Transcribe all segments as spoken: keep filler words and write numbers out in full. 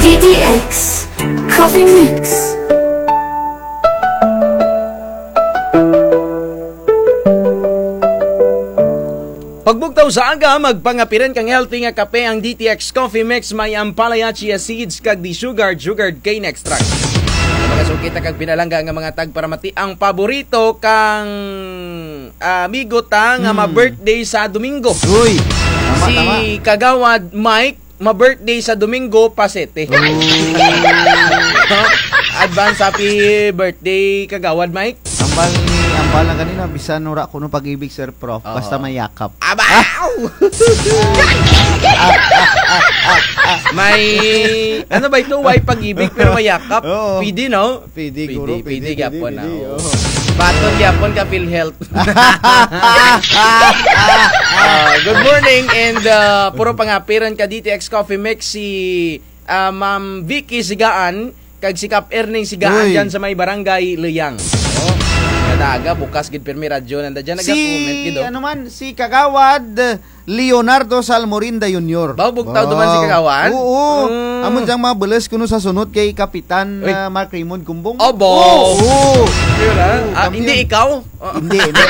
D T X Coffee Mix. Pagbugtaw sa aga, magpangapiran kang healthy nga kape ang D T X Coffee Mix, may ampalaya, chia seeds, kag desugared, sugared cane extract. Sa mga suki ta kag pinalangga nga mga tagparamati, ang paborito kang, ah, amigo ta nga Hmm. ma-birthday sa Domingo. Uy, tama, Si tama. Kagawad Mike, ma-birthday sa Domingo, pa sete. Oh. Advance happy birthday, Kagawad Mike. Ambal ni, ambal na ganina, bisan wara kuno pag-ibig, Sir Prof. Oo. Basta may yakap. Aba! May, ano ba ito? Way pag-ibig, pero may yakap. Oo. Pwede, no? Pwede, Pwede, guro, pwede pwede, gyapon, pwede, ah, oo. Baton gyapon ka PhilHealth. Ah, good morning and, ah, puro pangapiran ka D T X Coffee Mix si, ah, Ma'am Vicky Sigaan, kag si Kap Erning Sigaan Uy. dyan sa may barangay Leyang. Oh, kada aga, bukas gid pirmi radyo nanda dyan, Si, naga-comment gid, oh. ano man, si Kagawad Leonardo Salmorinda Junior. Ba, bugtaw duman si Kagawad? Oo. Mm. Amo dyang mabeles kuno sa sunod kay Kapitan, Uy. ah, Mark Raymond Kumbong. Obo. Oo. Yun, ah. Oo, Ah, kampiyon. hindi ikaw? Oh. Hindi, hindi.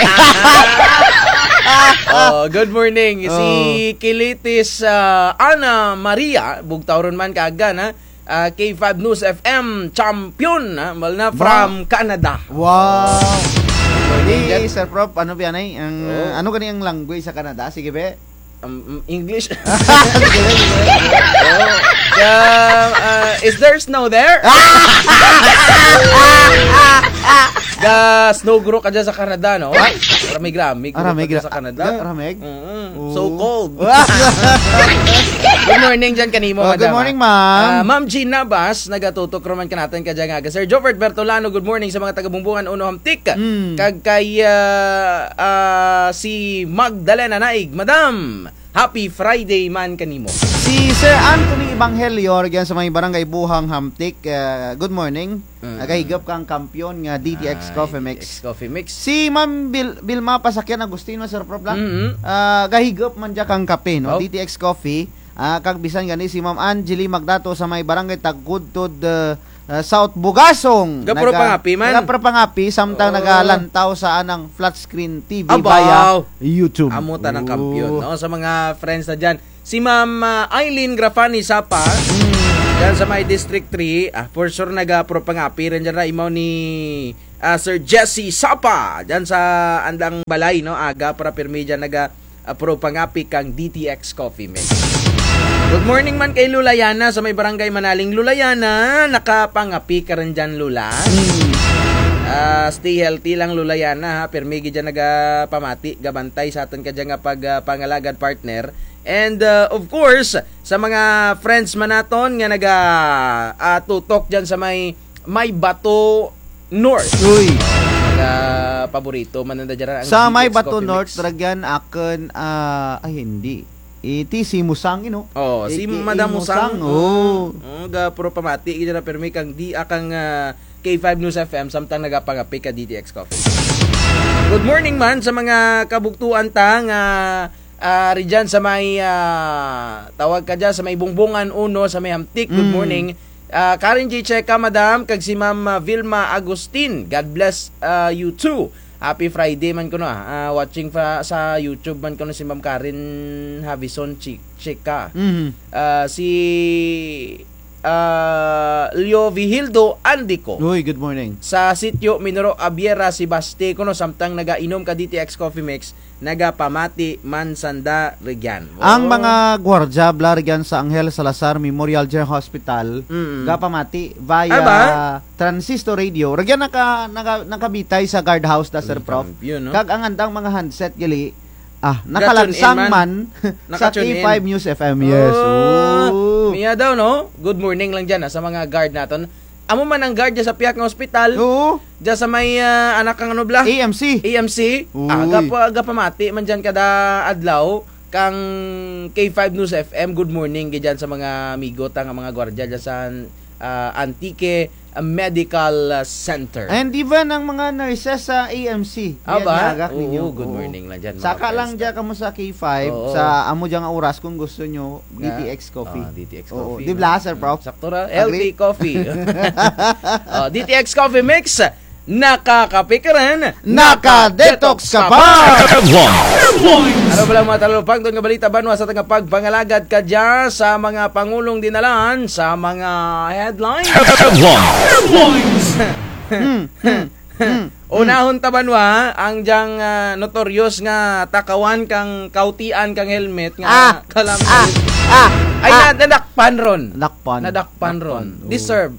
Oh, good morning. Si Oh. Kilitis, ah, Ana Maria, bugtaw run man kaaga na. Ah, K five News F M champion, ah, ambal na Ba? from Canada. Wow. Good morning, Di, Jet. Sir Prof, ano ba yan, eh? Ang, Oh. ano gani ang language sa Canada? Sige, be. Um, um, English. Oh. The, ah, is there snow there? The snow guro ka dyan sa Canada, no? Ay. Ramig-ramig Ah, guro ka ramig dyan ra-, sa Canada. ah, ramig? Mm-mm. Oo. So cold. Good morning dyan kanimo, Oh, good madam, morning, ah. ma'am. Ah, Ma'am Jean Nabas, nagatutok run man kanatun kadya nga aga. Sir Jobert Bertolano, good morning sa mga taga Bumbungan Uno Hamtic. Mm. Kag kay, ah, ah, si Magdalena Naig, Madam, happy Friday man kanimo. Si Sir Anthony Evangelio, rugyan sa may Barangay Buhang Hamtic, ah, good morning. Mm. Nagahigop kang kampiyon nga D T X Ay, Coffee Mix. D T X Coffee Mix. Si Ma'am Bil-, Vilma Pasakyan Agustin, Sir Prof, la? Mm-hmm. Ah, gahigop man dya kang kape, no? Oh. D T X Coffee. Ah, kag bisan gani si Ma'am Angeli Magdato sa may Barangay Tagkudtod, ah, ah, South Bugasong. Gapuro Naga-, pangapi man. gapuro pangapi, samtang Oh. nagalantaw sa anang flat screen T V Abaw. via YouTube. Amo tanang Oh. kampiyon, no? Sa mga friends na dyan. Si Ma'am, ah, Eileen Grafani Sapa, Mm. dyan sa may District three, ah, for sure, nagapuro pangapi run dyan ra, imaw ni, ah, Sir Jesse Sapa, dyan sa andang balay, no? Aga pa ra pirmi dyan naga, ah, puro pangapi kang D T X Coffee Mix. Good morning man kay Lola Yana sa may Barangay Manaling. Lola Yana, nakapangapi ka run dyan, Lola? Mm. Ah, stay healthy lang, Lola Yana, ha? Pirmi gid dyan nagapamati, gabantay sa atun kadya nga pag, ah, pangalagad, partner. And, uh, of course, sa mga friends man naton nga naga, ah, tutok dyan sa may, may Bato North. Uy. Naga paborito man nanda dyan ang Sa may D T X Bato Coffee North, Mix. rugyan akun, ah, ay, hindi. Iti si Musang, ino? Oh, si Iti Madam i Musang. Musang, oh. Oh, ga puro pamati, gid dyan pirmi kang di, ah, kang, ah, K five News F M, samtang nagapangapi ka D T X Coffee. Good morning man sa mga kabugtuan ta nga Ah, ridyan sa may, ah, tawag ka dyan, sa may Bungbungan Uno, sa may Hamtic. Good Mm. morning. Ah, Karen J Checa, madam, kag si Ma'am, ah, Vilma Agustin. God bless, ah, you too. Happy Friday man kuno, ah. Ah, watching fa-, sa YouTube man kuno si Ma'am Karen Havison Chi-, Checa. Mhm. Ah, si ah, Leo Vigildo Andico. Uy, good morning. Sa sitio Minoro Abiera, Sebaste, kuno samtang nagainom ka D T X Coffee Mix, nagapamati man sanda rugyan. Ang Oh. mga gwardya bala rugyan sa Angel Salazar Memorial General Hospital, Mm. gapamati via Ay ba? transistor radio. Rugyan naka-, naka-, nakabitay sa guardhouse da, Sir Prof. Yun, no? Kag ang andang mga handset gali, Ah, Ga-tune in nakalansang man. man sa Naka-tune in. K five News F M, yes. Oh, Oh. Mia daw, no? Good morning lang dyan, ah, sa mga guard naton. Amo man ang guard dyan sa pihak nga ospital. Oo. Dyan sa may, ah, anak kang ano bala? A M C. A M C. Uy. Ah, gapa-, gapamati man dyan kada adlaw kang K five News F M. Good morning, gid dyan sa mga amigo ta nga mga gwardya dyan sa ah, Antique Medical Center. And even ang mga nurses sa A M C. Aba, oo, good morning lang dyan, mga friends. Saka lang dyan kamo sa K five, sa amo dyan nga oras kung gusto nyo, D T X Coffee. Ah, D T X Coffee, no? Di bala, Sir Prof? Sakto ra, healthy coffee. Oh, D T X Coffee Mix, nakakape ka rin, naka-detox ka pa. Ano bala ang mga talupangton nga balita banwa sa atun nga pagpangalagad kadya sa mga pangulong dinalan sa mga headlines? Headlines. Unahon ta banwa, ang dyang, ah, notorious nga takawan kang kautian kang helmet nga kalamay. Ay, na-, nadakpan ron. Nadakpan ron. Deserve.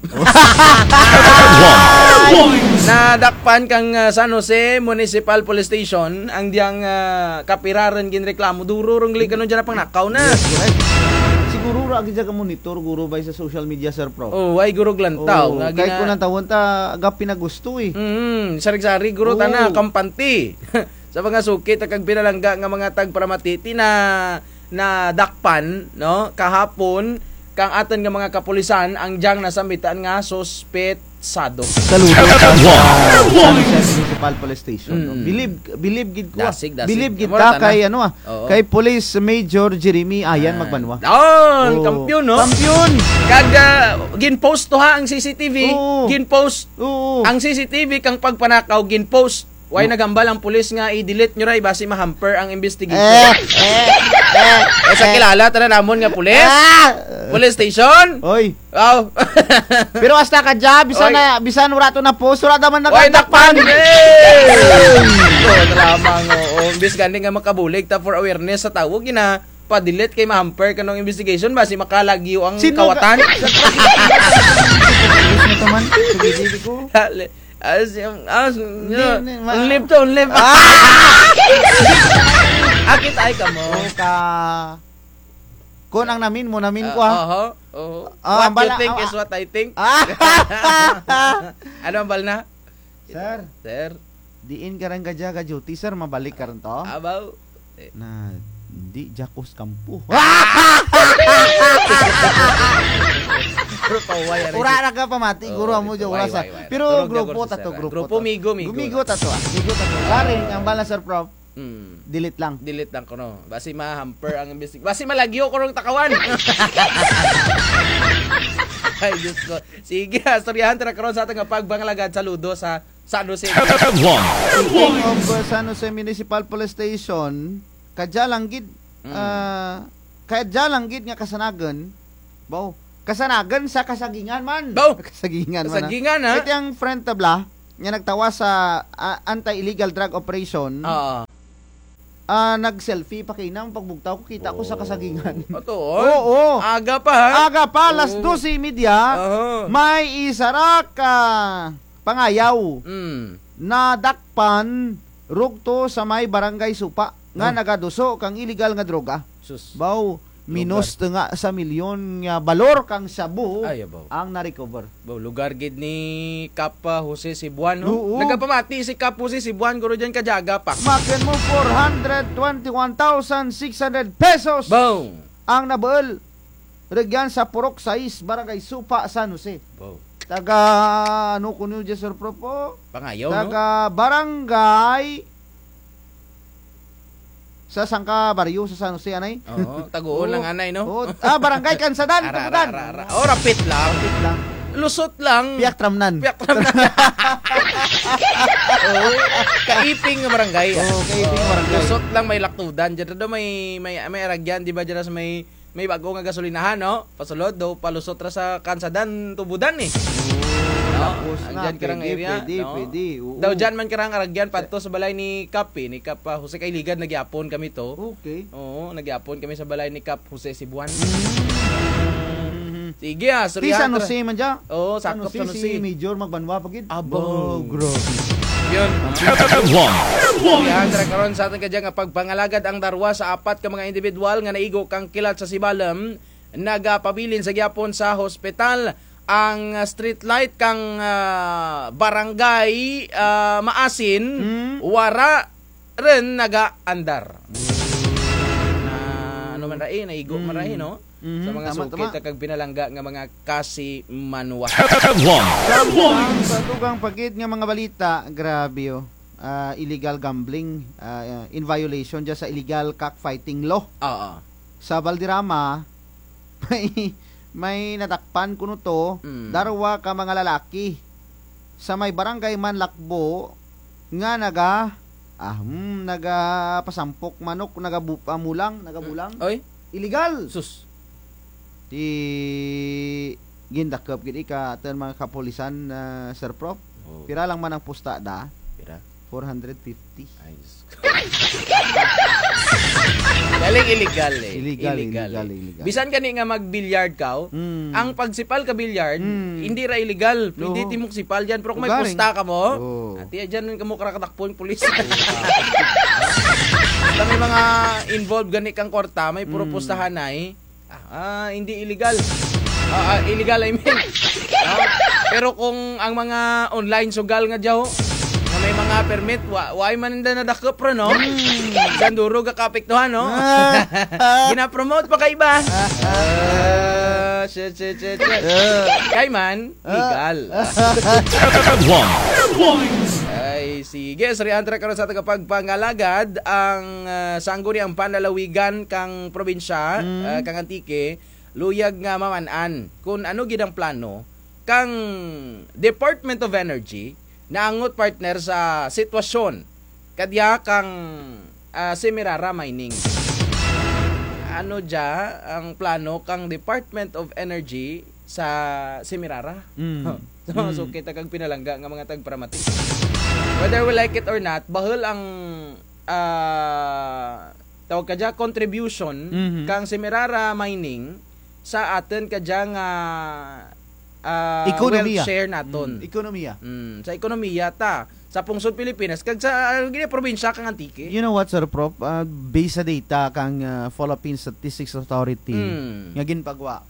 Nadakpan kang, ah, San Jose Municipal Police Station, ang dyang, ah, kapira rin ginreklamo. Duro rong gali karon dyan nga pangnakaw na. Yes, correct. Siguro ra gid dyan ka monitor, guro, bay sa social media, Sir Prof. Oh, ay guro glantaw. Kay kun ang tawon ta, aga pinagusto eh. Mm, sari-sari guro tana, kampante. Sa mga suki ta kag pinalangga nga mga tagparamati, ti na-, nadakpan, no? Kahapon, kang atun nga mga kapulisan, ang dyang nasambitan nga suspetsado. Saludo sa, sa San Jose Municipal Police Station, no? Bilib, bilib gid ko, ah. Bilib gid ta kay, ano, ah, kay Police Major Jeremy Ayan Magbanwa. Don, kampiyon, no? Kampiyon. Kag, ah, gin-post to ha ang C C T V. Gin-post. Ang C C T V kang pagpanakaw, gin-post. Way naghambal ang pulis nga i-delete nyo ra, basi ma-hamper ang investigation. Eh, sa kilala tana namon nga pulis? Police station? Oy. Aw. Pero hasta kadya, bisan na, bisan wara to na-post, wara daman nadakpan. Oy, nadakpan. Ito, lamang, oo. Imbis gani nga makabulig ta for awareness sa tawo, gina-, pa-delete kay ma-hamper kanang investigation, basi makalagyo ang kawatan. Dali. As, as, live to, live. Akit ay kamo. Kun ang namin mo, namin ko, ha? Oho, oho. What you think is what I think. Ano ang balna? Sir. Sir. Diin ka rin kadya ga-duty, sir? Mabalik ka rin to? Abaw. Na, di dya ko sa kampo. Wara ra ka pamati, guro, amo dya, wara sa. Pero grupo ta to, grupo ta to. Grupo, migo, migo. Migo ta to, ah. Migo ta to. Sorry, ang balna, Sir Prof. Delete lang. Delete lang kuno. Basi ma-hamper ang investig-, basi malagyo ko rong takawan. Ay, Diyos ko. Sige, istoryahan ta ra karon sa atun nga pagpangalagad. Saludo sa San Jose. Speaking of, uh, San Jose Municipal Police Station, kadya lang gid, ah, kadya lang gid nga kasanagan, baw, kasanagan sa kasagingan man. Baw. Kasagingan man, ah. Kasagingan, ha? Iti ang friend ta bala, nga nagtawas sa, ah, anti-illegal drug operation. Oo. Ah, nag-selfie pa kaina, pagbugtaw ko, kita ko sa kasagingan. Ato, oy. Oo. Aga pa, ha? Aga pa, alas dose y media, may isa ra ka pangayaw. Nadakpan, rugto sa may Barangay Supa, nga nagaduso kang illegal nga droga. Sus. Baw, minos to nga sa milyon nga balor kang shabu ang na-recover. Baw, lugar gid ni Kap, ah, Jose Cebuan, no? Oo. Nagapamati si Kap Jose Cebuan, guro, dyan kadya aga pa. Makin mo, four hundred twenty-one thousand six hundred pesos. Baw. Ang nabuul. Rugyan sa Purok sais, Barangay Supa, San Jose. Baw. Taga, ano kuno dya, Sir Prof, o? Pangayaw, no? Taga barangay sa sangka baryo sa San Jose, anay? Oo, taguon lang, anay, no? Oo. Ah, Barangay Kansadan, Kansadan. Ara, ara, ara. Oh, rapit lang. Rapit lang. Lusot lang. Piak tramnan. Piak tramnan. Oo. Kaiping nga barangay. Oo, kaiping nga barangay. Lusot lang, may laktudan. Dyan daw may, may, may aragyan, di ba, dyan sa may May bag-o nga gasolinahan, no? Pasulod, daw palusot ra sa Kansadan, Tubudan, eh. Oo, lapos na. Andyan karang area, pwede, no? Pwede, pwede, oo. Daw dyan man karang aragyan, padto sa balay ni Kap, eh, ni Kap, ah, Jose, kay ligad na gihapon kami to. Okay. Oo, na gihapon kami sa balay ni Kap Jose Cebuan. Mm. Sige, ah, istoryahan ta ra. Ti San Jose man dya? Oo, sakop San Jose. San Jose, si Major Magbanwa pa gid. Abo. Abo, grabe. Yun. Yan, tara karon sa atun kadya nga pagpangalagad ang darwa sa apat ka mga indibidwal nga naigo kang kilat sa Sibalom, nagapabilin sa gihapon sa hospital. Ang, ah, street light kang, ah, barangay, ah, Maasin, wara rin nagaandar. Na, ano man ra, eh, naigo man ra, eh, no? Mhm, sa mga tama, suki tama. Ta kag pinalangga nga mga kasimanwa. Headlines. Sa dugang pa gid nga mga balita, grabe, oh. Ah, illegal gambling, ah, in violation dya sa illegal cockfighting law. Oo. Sa Valderrama, may, may nadakpan kuno to, Mm. darwa ka mga lalaki sa may barangay Manlakbo nga naga, ah, hmm, nagapasampok manok, nagabu-, ah, mulang, nagabulang. Oy. Illegal. Sus. Ti gindakop gid ka atun mga kapulisan, ah, Sir Prof. Oh. Pira lang man ang pusta da? Pira? Four hundred fifty. Ay, Diyos ko. Galing illegal eh. Illegal, illegal, illegal. Bisan gani nga mag-billiard ka, oh, Mm. ang pagsipal ka billiard, Mm. hindi ra illegal. Pwede ti mo sipal dyan, pero kung may pusta kamo, oh. Ati, dyan kamo karakadakpon, pulis. Basta may mga involved gani kang kwarta, may puro pustahan na eh. Ah, ah, hindi illegal. Ah, ah, illegal, I mean. Ah, pero kung ang mga online sugal nga dyaw, nga may mga permit, wa, wa man nanda nadakop ra, no? Hmm. Sa duro ga kaapektuhan, no? Ah. Ginapromote pa kay iba. Ah, shit, shit, shit, shit. Ah. Kay man, legal. Ay, sige. Surian ta karon sa tagapagpangalagad ang, ah, sangguniang panlalawigan kang probinsya, Mm. ah, kang Antique, luyag nga maman-an kun ano gid ang plano kang Department of Energy naangot, partner, sa sitwasyon kadya kang, ah, Semirara Mining. Ano dya ang plano kang Department of Energy sa Semirara? Mm. So, Mm. suki ta kag pinalangga nga mga tagparamati. Whether we like it or not, bahul ang, ah, tawag ka dya, contribution Mhm. kang Semirara Mining sa atun ka dya nga, ah, Ekonomiya. Wealth share natun. Mm, ekonomiya. Mm, sa ekonomiya ta, sa pungsod Pilipinas, kag sa, ah, gini, probinsya kang Antique. You know what, Sir Prof? Ah, based sa data kang, ah, Philippine Statistics Authority, Mm. nga ginpagwa.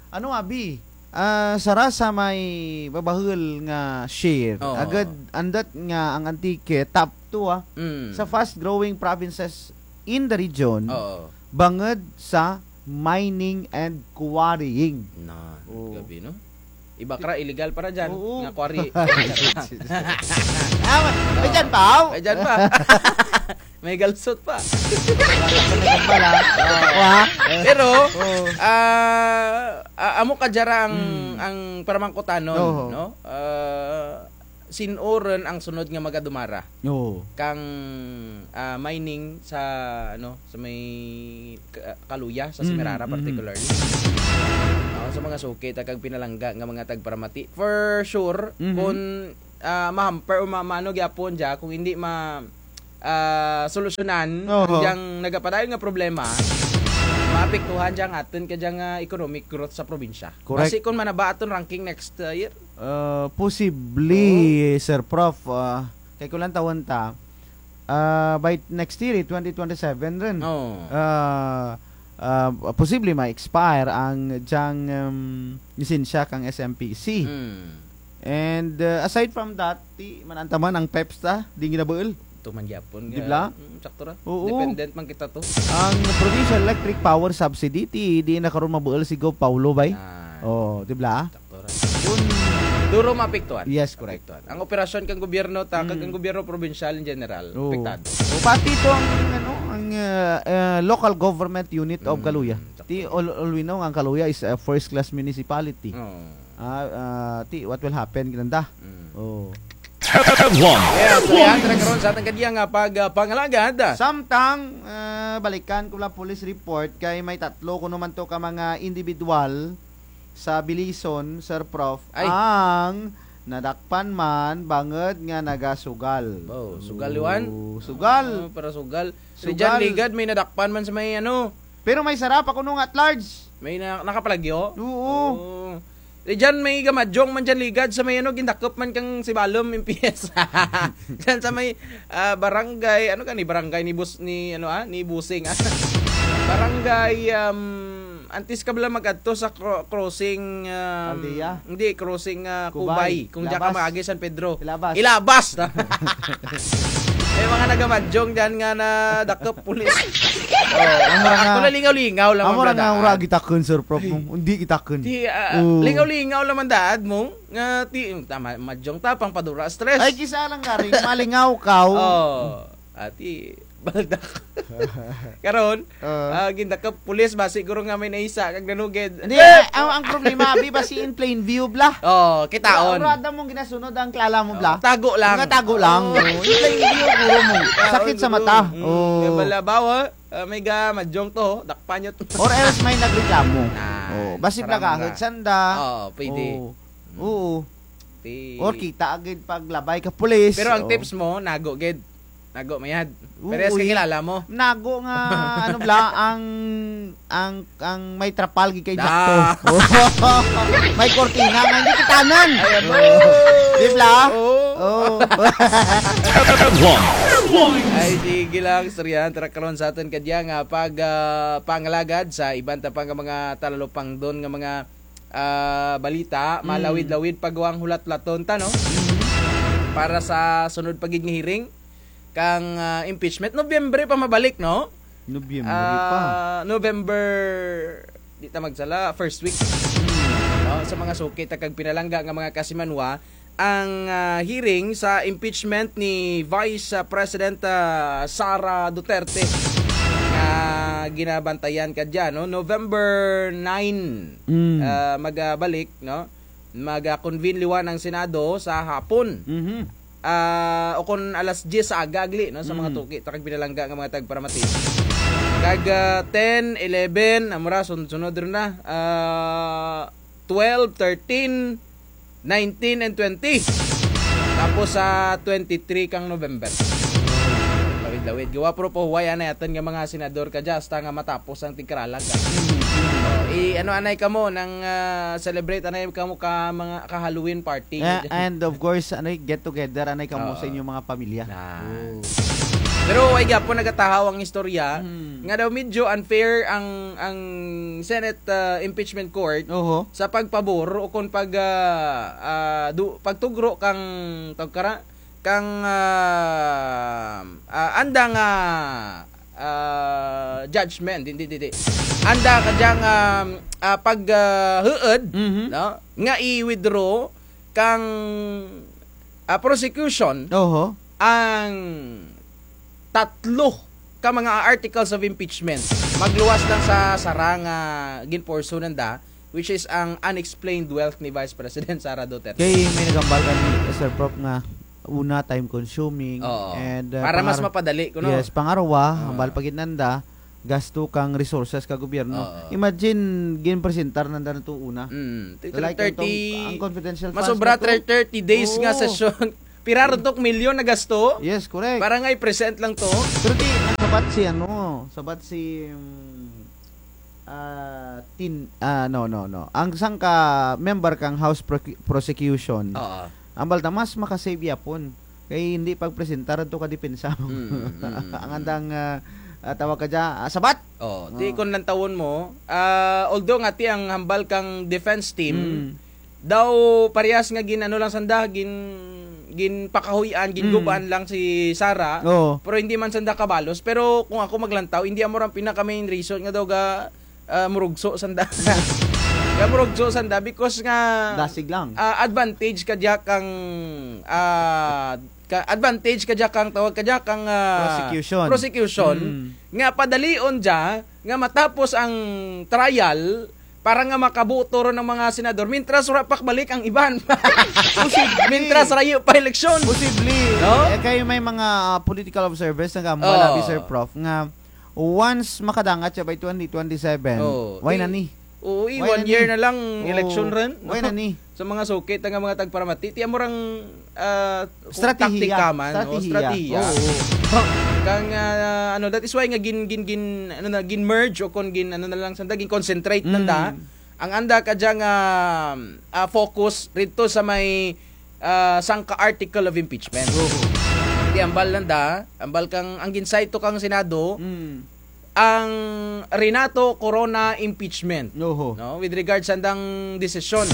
Ano, abi? Ah, sara sa may babahul nga share. Oo. Agud, andut nga ang Antique, top two, ah, Mm. sa fast-growing provinces in the region, Oo. bangud sa mining and quarrying. Na, Oo. grabe, no? Iba kara, illegal para dyan, Oo. nga quarry. Ah, may dyan pa, aw? May dyan pa. May galsot pa. Wala. Pero, Oo. ah, ah, amo ka dya ra ang, Mm. ang paramangkutanon, Oo. no? Ah, sin-o run ang sunod nga magadumara Oo. kang, ah, mining sa, ano, sa may Ka-, Caluya, sa Mm, Semirara mm. particularly. Ah, sa mga suki ta kag pinalangga nga mga tagparamati. For sure, Mhm. kun, ah, ma-hamper o ma-, maano gyapon dya, kung hindi ma-, ah, solusyonan Oo. ang dyang nagapadayon nga problema, maapektuhan dya ang atun ka dyang, ah, economic growth sa probinsya. Correct. Basi kun manaba atun ranking next, ah, year. Ah, posible, Oo. Sir Prof, ah, kay kulantawun ta, ah, by next year, eh, twenty twenty-seven run. Oo. Ah, ah, posible ma-expire ang dyang, um, lisensya kang S M P C. Mm. And, ah, aside from that, ti, man-an ta man ang PEPS ta, di ginabuul. Tuman gyapon Di nga, bla? Mm, sakto ra. Oo. Dependent man kita to. Ang Provincial Electric Power Subsidy, ti, di na karon mabuul si Gov Paolo, bay. Ah. Oo, di bla? Sakto ra. Kun duro maapektuhan. Yes, correct. Maapektuhan. Ang operasyon kang gobyerno ta, kag Mm. ang gobyerno probinsyal in general, Oo. apektado. O, pati to ang, ano, ang, ah, ah, local government unit of Mm, Caluya. sakto. Ti, all, all we know, ang Caluya is a first class municipality. Oo. Ah, ah, ti, what will happen, kinanda? Mm. Oh. Headlines. Yes, Leandra, karon sa atun kadya nga pag, ah, pangalagad. Samtang, ah, balikan ko lang police report kay may tatlo kuno man to ka mga individual sa Belison, Sir Prof, Ay. ang nadakpan man bangud nga nagasugal. Oh, sugal, Juan? Oh, sugal. Ah, para sugal. Sugal. Rijan Ligad, may nadakpan man sa may ano. Pero may sara pa kuno nga at large. May na, nakapalagyo? Oo. Oh. Rijan may gamadyong man dyan Ligad sa may ano, gindakop man kang Sibalom, M P S. Dyan sa may, ah, barangay, ano gani, barangay ni Bus-, ni, ano, ah, ni Busing, ah. Barangay, um, antes ka bala mag-adto sa cro-, crossing, um, Aldea? Hindi, crossing, ah, Cubay. Cubay. Kung dyan ka Ilabas. Maagi, San Pedro. Ilabas. Ilabas! May mga nagamadyong dyan nga nadakop pulis. Oh, amo ra nga, ako lang lingaw-lingaw lang amo ra nga, ura gitakun, Sir Prof, mo. Hindi gitakun. Di, ah, oo, lingaw-lingaw lang man daad mo. Nga ti, tama, madyong tapang padura stress. Ay, kis-a lang gani, malingaw kaw. Oh, ati, baldak. Karon, ah, gindakop pulis, basi guro nga may naisa kag nanugid. Hindi, eh, ang, ang problema, abi, basi in plain view, bla. Oh, kitaon. Ura, ura, da mong ginasunod ang kilala mo, bla. Oh, tago lang. Nga tago lang. Oh. In plain view, guro mo. Sakit sa mata. Mm, oh. Nga bala, bawa, ah, may ga, madyong to, dakpan nyo to. Or else may nagreklamo. Na, oh, basi sarang plagahod sanda. Oh, pwede. Oh. Oo. Ti- Or kita agad paglabay ka pulis. Pero ang tips mo, nago gid. Nago mayad. Oo, parehas ka kilala mo. Nago nga, ano bla, ang, ang, ang may trapal gid kay dakto. May kortina nga hindi kitanan. Ay, ano? Oo. Di bla? Oo. Oo. Ay, sige lang, istoryahan ta ra karon sa atun kadya nga pag, ah, pangalagad sa iban ta pa nga mga talalupangdon nga mga ah, balita, malawid-lawid pa gawang hulat-hulaton ta, no? Para sa sunod pa gid nga hearing kang, ah, impeachment. Nobyembre pa mabalik, no? Nobyembre pa. Ah, November, di ta magsala, first week. No? Sa mga suki ta kag pinalangga nga mga kasimanwa, ang, ah, hearing sa impeachment ni Vice, ah, President, ah, Sara Duterte nga ginabantayan kadya, no? November nine, ah, magabalik, no? Maga-convene liwan ang Senado sa hapon. Ah, o kon alas dyes sa aga agli, no? Sa mga suki ta kag pinalangga nga mga tagparamati. Kag, ah, ten, eleven, amo ra, sun-, sunod run na. Ah, twelve, thirteen, nineteen and twenty. Tapos sa twenty-three kang November. Lawid-lawid. Gawa puro pahuway anay atun nga mga senador kadya hasta nga matapos ang tigkaralag ka. Oh, i-ano anay kamo nang, ah, celebrate anay kamo ka mga ka-Halloween party. Eh, and of course, ano, get together anay kamo sa inyong mga pamilya. Na. Oh. Pero way gihapon nagatahaw ang istorya nga daw medyo unfair ang, ang Senate, ah, Impeachment Court sa pagpabor o kon pag, ah, ah, du-, pagtugro kang, tawag kara, kang, ah, ah, anda nga, ah, judgment, hindi, hindi, hindi. Anda kadya nga, ah, pag, ah, huud, no? Nga i-withdraw kang, ah, prosecution ang tatlo ka mga articles of impeachment. Magluwas lang sa sara nga ginporso nanda, which is ang unexplained wealth ni Vice President Sara Duterte. Kay may naghambal gani, Sir Prof, nga una, time consuming. Oo. And, uh, para mas mapadali kuno. Yes, pangarwa, hambal pa gid nanda, gasto kang resources ka gobyerno. Oo. Imagine, ginpresentar nanda na to una. Mm. Like, thirty, ang confidential funds masobra na to. Thirty days nga session. Pira run to milyon na gasto? Yes, correct. Para nga i-present lang to. Pero ti, sabat si ano, sabat si, mm, ah, tin-, ah, no, no, no. Ang sangka member kang House Procu-, Prosecution, hambal ta mas makasave gihapon. Kay hindi pagpresentar to ka depensa mo. Mm, mm, mm. Ang andang, ah, ah, tawag kadya, ah, sabat. Oh, ti kon lantawon mo, ah, although nga ti ang hambal kang defense team, daw parehas nga gin-ano lang sanda, gin-, ginpakahuy-an, gingub-an lang si Sara. Oo. Pero hindi man sanda kabalos. Pero kung ako maglantaw, hindi amo ra ang pinaka-main reason nga daw ga, ah, murugso sanda. Ga murugso sanda because nga dasig lang. Ah, advantage kadya kang, ah, ka-, advantage kadya kang tawag kadya kang, ah, prosecution. Prosecution. Mm. Nga padalion dya, nga matapos ang trial, para nga makaboto run ang mga senador, mintras wara pa kabalik ang iban. Posible. Mintras rayo pa eleksyon. Posible. No? Eh, kay may mga, ah, political observers nga hambal, abi, Sir Prof, nga once makadangat dya by twenty twenty-seven, way na ni. Oo, i-, one year na lang eleksyon run, no? Way na ni. Sa mga suki ta nga mga tagparamati, ti amo rang, ah, taktika man, o, estratehiya. Oo. Kang, ah, ano, that is why nga gin-, gin-, gin-, ano na, gin-merge o kon gin-, ano na lang sanda, gin-concentrate nanda. Ang anda kadya nga, ah, focus rito sa may, ah, sangka article of impeachment. Oo. Ti hambal nanda, hambal kang, ang gin-cite to kang Senado, ang Renato Corona impeachment. Oho. No? With regards sa andang desisyon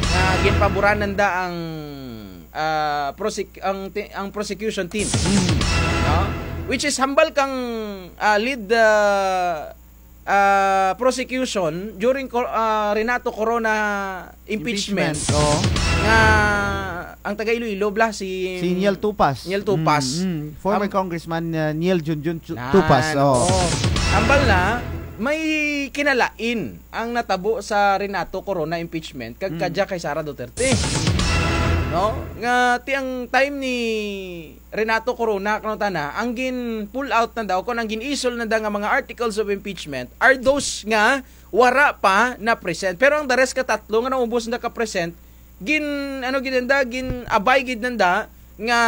nga ginpaboran nanda ang, ah, prosec-, ang ti-, ang prosecution team. No? Which is hambal kang, ah, lead, ah, ah, prosecution during Cor-, ah, Renato Corona impeachment. Impeachment, oo. Nga ang taga Iloilo bala si Si Niel Tupas. Niel Tupas. Mm, mm. Former Am- Congressman, ah, Niel Junjun Tu-, Nan, Tupas, oo. oo. Hambal na, may kinalain ang natabo sa Renato Corona impeachment kag Mm. kadya kay Sara Duterte. No? Nga ti ang time ni Renato Corona, kuno tana, ang gin-pull out nanda, o kon ang gin-isol nanda nga mga articles of impeachment are those nga wara pa na-present. Pero ang the rest katatlo nga naubos nanda ka-present, gin-, ano gid nanda, gin-abay gid nanda nga,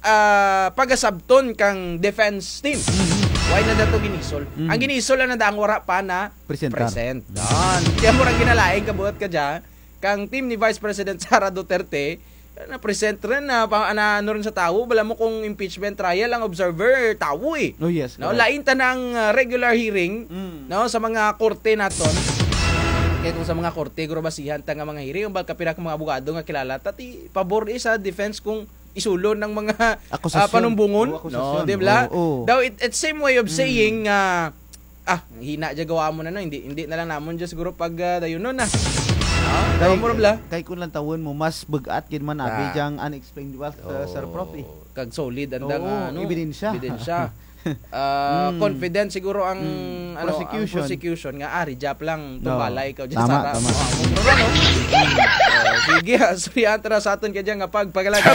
ah, pagasabton kang defense team. Mhm. Why nanda to gin-isol? Mhm. Ang gin-isol lang nanda ang wara pa na Presentar. present. Yan. Kaya murag ginalain kabuhat kadya, kang team ni Vice President Sara Duterte, na-present run na, pa-, na ano run sa tawo, bala mo kung impeachment trial, ang observer, tawo eh. Oh, yes, No, correct. lain tana ang, ah, regular hearing, Mm. no, sa mga korte naton. Kaya kung sa mga korte, guro basihan ta nga mga hearing, ang bala kapira ka mga abogado nga kilala ta, ti pabor eh sa defense kung isulon ang mga, ah, Akusasyon. panumbongon. Oo, akusasyon. No, di bala? Oo, oo. Daw, it, it's same way of Mm. saying, ah, Ah, hina dya gawa mo na, no? Hindi, hindi na lang namon dya siguro pag, ah, dayunon na. Ah, Kay, kay mo, bala? kay kun lantawon mo, mas bug-at gid man abi Ah. dyang unexplained wealth, uh, Sir Prof, eh. Oh, kag solid ang Oo, dang, ano, ebidensya. ebidensya. Ah, Mm. confident siguro ang, Mm, ano, ang prosecution. prosecution nga, ah, rijap lang, No. tumbalay ka dyan, Tama, Sara. tama. Oh, ang problema, no? Oh, sige, ah, sorry, antra sa aton kadya nga pagpagalagad.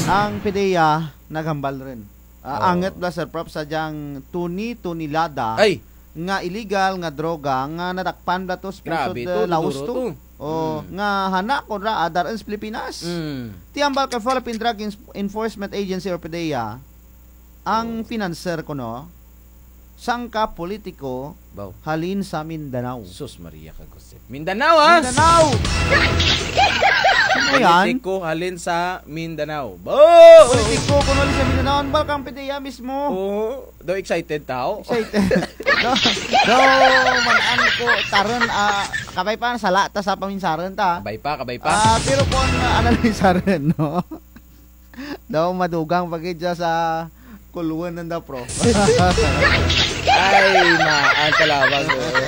Ang PDEA naghambal run. Ah, Oh. angut bala, Sir Prof, sa dyang tuni-tunilada Ay! nga illegal nga droga nga nadakpan bala to sa Grabe pusod, to, ah, Laos duduro to. to. Oh, Mm. nga hana kon ra, ah, dar-un sa Pilipinas. Mm. Ti hambal kay Philippine Drug Ens-, Enforcement Agency or PDEA, ang Oh. financer kuno, sangka politiko Baw. halin sa Mindanao. Sus Maria, kag Mindanao, ha? Mindanao! Ano yan? Politiko halin sa Mindanao. Bo! Politiko kuno halin sa Mindanao. Hambal kang PDEA mismo. Oo. Daw excited tao. Excited. Daw, daw, man-an ko, tarun, ah, kabay pa, sala ta sa paminsarun ta. Kabay pa, kabay pa. Ah, pero kon, ah, analisarun, no? Daw madugang pa gid dya sa kulwon nanda, Prof. Ay, maan talawag, oo.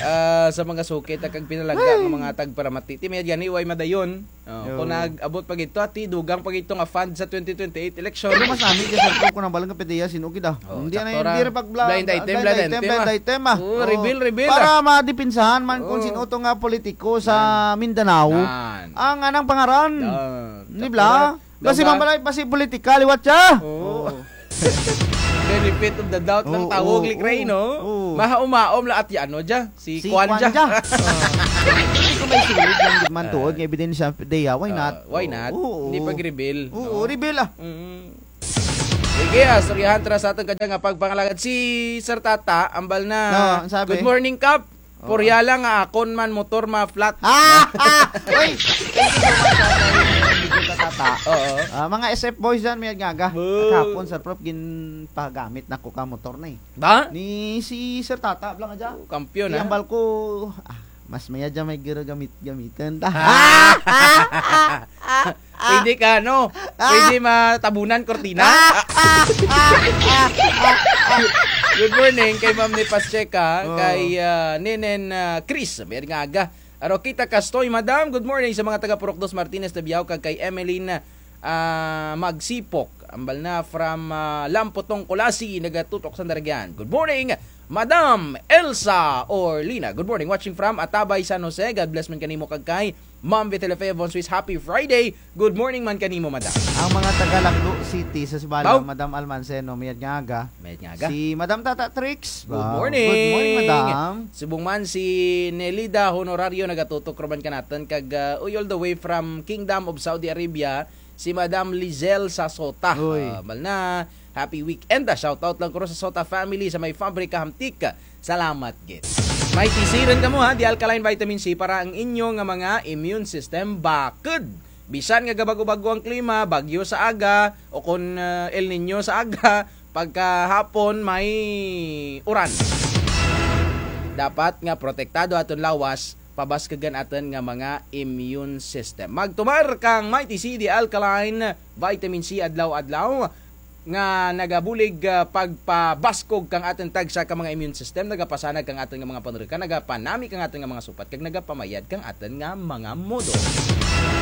Ah, sa mga suki ta kag pinalangga nga mga tagparamati. Ti mayad gani, way madayon. Oh, Yo. Kon nag-abot pa gid to, ti dugang pa gid to nga fund sa twenty twenty-eight election. Pero mas nami dya, Sir Prof, kon ang balang ka PDEA, sin-o gid, ah. Oh, Hindi na sakto ra. Hindi ra pag bla-, Blind item, blind blind item, item, ah. blind item, ah. Oh, Oo. reveal, reveal, Para ah. madipensahan man kung Oo. sin-o to nga politiko sa Nan. Mindanao. Nan. Ang anang pangaran. Nan. Di Sakto bala? ra. Kasi Daw ka? mambalay pa si politika, liwat dya. Oo. Oo. Benefit of the doubt lang Oo, tawag, oo, Likray, oo, no? oo. Mahaom-haom la at ano dya, si Si Kwan Kwan dya. dya. Ah. Hindi ko may sulit lang gid man Ah. tuod nga ebidensya, PDEA, why Ah, not? why not? Oo. Hindi pag-reveal, Oo, no? reveal, ah. Mm. Sige, ah, istoryahan ta ra sa atun kadya nga pagpangalagad si Sir Tata, ambal na. No, ang sabi? Good morning, Kap. Oo. Purya lang nga akon man motor ma-flat. Ah! Ah! Uy! Thank you so much, Sir Tata. Oo. Ah, mga S F boys dyan, mayad nga aga. Boo! Kahapon, Sir Prof, ginpagamit nako ka motor na eh. Ba? Ni si Sir Tata, bala nga dya. Oh, kampiyon, Di ah. ambal ko, ah, mas mayad dya may giro gamit, gamitan ta. Ah! Pwede ka, no? Ah! Pwede matabunan, kortina. Ah! Good morning kay Ma'am ni Pacheca, Oh. kay, ah, Nenen, ah, Chris, mayad nga aga. Arokita Castoy, Madam, good morning sa mga taga Purok Dos Martinez, Tabiao, kag kay Emeline, ah, Magsipok. Ambal na from, ah, Lamputong, Culasi, nagatutok sa Daragyan. Good morning, Madam Elsa Orlina. Good morning, watching from Atabay, San Jose. God bless man kanimo kag kay Ma'am Vitelefe Von Swiss, happy Friday. Good morning man kanimo, madam. Ang mga taga Lacdo City sa Sibalom, Baw. Madam Almanceno, mayad nga aga. Mayad nga aga. Si Madam Tata Trix. Good Baw. morning. Good morning, madam. Subong man si Nelida Honorario nagatutok ra man kanatun kag, uh, uy, all the way from Kingdom of Saudi Arabia, si Madam Lizelle Sasota. Uy. Uh, ambal na, Happy weekend, ah. Shout out lang ko ro sa Sota family sa may Fabrica Hamtic. Salamat gid. May tisiran kamo, ha, The Alkaline Vitamin C para ang inyo nga mga immune system bakod. Bisan nga gabago-bago ang klima, bagyo sa aga, o kon, ah, El Niño sa aga, pagkahapon may uran. Dapat nga protektado aton lawas pabaskug ang atun nga mga immune system. Magtumar kang Mighty C, the alkaline vitamin C adlaw-adlaw nga nagabulig, ah, pagpabaskog kang atun tagsa ka mga immune system, nagapasanag kang atun nga mga panurukan, nagapanami kang atun nga mga supat, kag nagapamayad kang atun nga mga modo.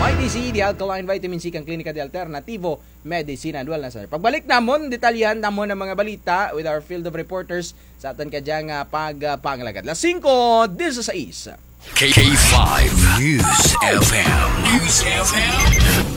Mighty C, the alkaline vitamin C kang Klinika de Alternativo Medicina and Wellness Center. Pagbalik namun, detalyahan namun ang mga balita with our field of reporters sa atun kadya nga pagpangalagad. Las singko dieciséis. K five News F M. News F M.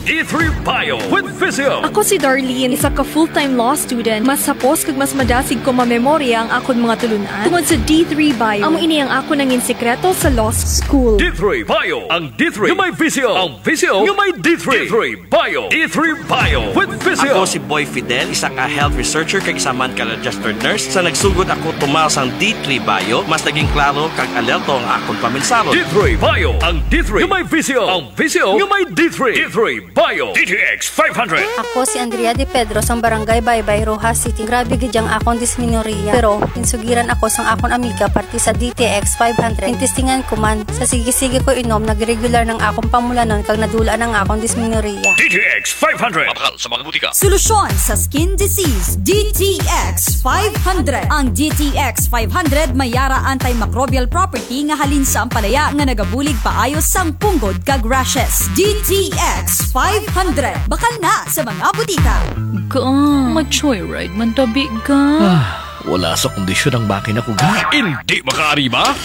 D three Bio with Physio. Ako si Darlene, isa ka full-time law student. Mas hapos kag mas madasig ko mamemorya ang akon mga tulun-an tungod sa D three Bio. Amo ini ang akon nangin sikreto sa law school. D three Bio, ang D three nga may Physio, ang Physio nga may D three. D three Bio. D three Bio with Physio. Ako si Boy Fidel, isa ka health researcher kag isa man ka registered nurse. Sa nagsugod ako tumar sang D three Bio, mas naging klaro kag alerto ang akon paminsaro. D three Bio, ang D three nga may Physio, ang Physio nga may D three. D three Bio, D T X five hundred. Ako si Andrea De Pedro sang Barangay Baybay, Roxas City. Grabe gid ang akon dismenorrhea. Pero, ginsugiran ako sang akon amiga parte sa D T X five hundred. Gintestingan ko man. Sa sige-sige ko inom, nagregular ang akon pamulanon kag nadul-an ang akon dismenorrhea. D T X five hundred. Mabakal sa mga butika. Solusyon sa skin disease, D T X five hundred. Ang D T X five hundred may ara antimicrobial property nga halin sa ampalaya nga nagabulig paayo sang punggod kag rashes. D T X five hundred. Bakal na sa mga butika. Ga, ma-joyride man tabi, ga. Ah, wala sa kondisyon ang makina ko, ga. Hindi makaariba?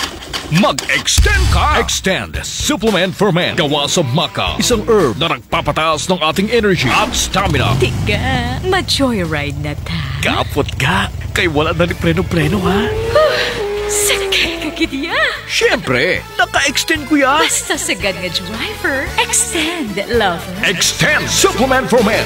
Mag-extend ka! Extend Supplement for Men. Gawa sa maca, isang herb na nagpapataas ng ating energy at stamina. Ti ga, ma-joyride na ta. Kapot ga, kay wala na ni preno-preno, ha? Sakay ka gid ya. Siyempre, naka-extend ko ya. Basta sagad nga driver, extend, lover. Extend Supplement for Men.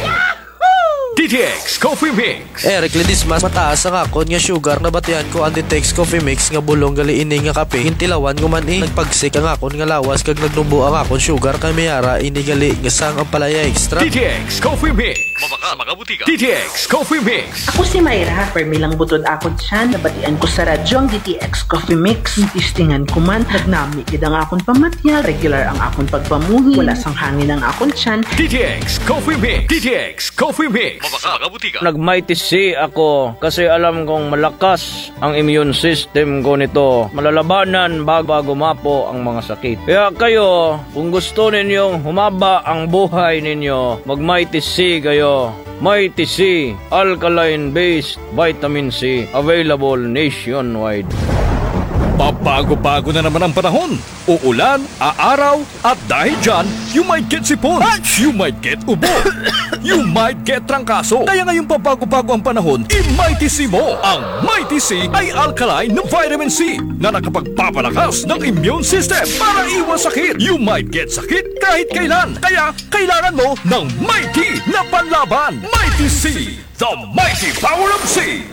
D T X Coffee Mix. Eric Ledesma, mataas ang akon nga sugar, nabatian ko ang D T X Coffee Mix nga bulong gali ini nga kape. Gintilawan ko man, eh. Nagpagsik ang akon nga lawas kag nagnubo ang akon sugar kay may ara ini gali nga sang ampalaya extra. D T X Coffee Mix. Mabakal sa mga butika. D T X Coffee Mix. Ako si Myra, permi lang butod akon tiyan. Nabatian ko sa radyo ang D T X Coffee Mix. Gintistingan ko man, nagnami gid ang akon pamatyag, regular ang akon pagpamuhi, wala sang hangin ang akon tiyan. D T X Coffee Mix. D T X Coffee Mix. Mabakal sa mga butika. Nag-Mighty C ako kasi alam kong malakas ang immune system ko nito. Malalabanan bag-, bago mapo ang mga sakit. Kaya kayo, kung gusto ninyong humaba ang buhay ninyo, mag-Mighty C kayo. Mighty C, alkaline-based vitamin C, available nationwide. Pabago-bago na naman ang panahon. Uulan, aaraw, at dahil dyan, you might get sipon, you might get ubo, you might get trangkaso. Kaya ngayong pabago-bago ang panahon, i-Mighty C mo ang Mighty C ay alkaline na vitamin C na nakapagpapalakas ng immune system para iwas sakit. You might get sakit kahit kailan. Kaya kailangan mo ng Mighty na panlaban. Mighty C, the mighty power of C.